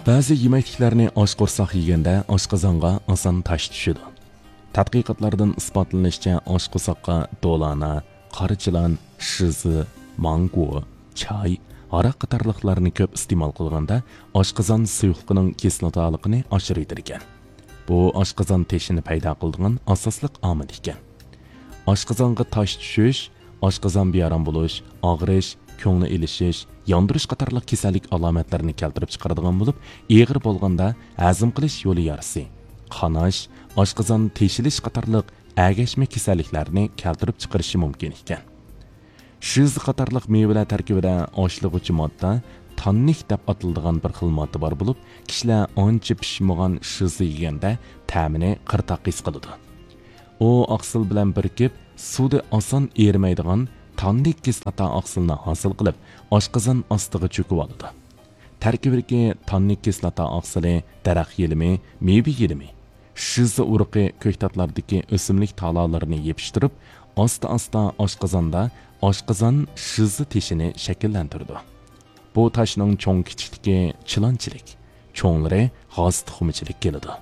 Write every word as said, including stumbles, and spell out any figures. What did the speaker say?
بەزى يېمەكلىكلەرنى ئاچ قورساق يېگەندە ئاشقازانغا ئاسان تاش چۈشىدۇ. تەتقىقاتلاردىن ئىسپاتلىنىشىچە، ئاشقورساققا دولانا، قارا چىلان، شىزى، مانگو، چاي، ھاراق قاتارلىقلارنى كۆپ ئىستېمال قىلغاندا ئاشقازان سۇيۇقلۇقىنىڭ كىسلاتالىقىنى ئاشۇرۇۋېتىدىكەن. بۇ ئاشقازان تېشىنى پەيدا قىلىدىغان ئاساسلىق ئامىل ئىكەن. ئاشقازانغا تاش چۈشۈش، ئاشقازان بىئارام بولۇش، ئاغرىش، كۆڭلى ئېلىشىش، ياندۇرۇش قاتارلىق كېسەللىك ئالامەتلىرىنى كەلتۈرۈپ چىقىرىدىغان بولۇپ، ئېغىر بولغاندا ھەزىم قىلىش يولى يارىسى، قاناش، ئاشقازان تېشىلىش قاتارلىق ئەگەشمە كېسەللىكلەرنى كەلتۈرۈپ چىقىرىشى مۇمكىن ئىكەن. شىزى قاتارلىق مېۋىلەر تەركىبىدە ئاشلىغۇچى ماددا تاننىك دەپ ئاتىلىدىغان بىر خىل ماددا بار بولۇپ، كىشىلەر ئانچە پىشمىغان شىزى يېگەندە تەمىنى قىرتاق ھېس قىلىدۇ. ئۇ ئاقسىل بىلەن بىرىكىپ، سۇدا ئاسان ئېرىمەيدىغان تاننىك كىسلاتا ئاقسىلنى ھاسىل قىلىپ، ئاشقازان ئاستىغا چۆكۈۋالىدۇ. تەركىبىدىكى تاننىك كىسلاتا ئاقسىلى دەرەخ يېلىمى، مېۋە يېلىمى، شىزا ئۇرۇقى كۆكتاتلاردىكى ئۆسۈملۈك تالالىرىنى يېپىشتۇرۇپ، ئاستا-ئاستا ئاشقازاندا ئاشقازان شىزا تېشىنى شەكىللەندۈرىدۇ. بۇ تاشنىڭ چوڭ-كىچىكلىكى چىلانچىلىك، چوڭلىرى غاز تۇخۇمىچىلىك كېلىدۇ.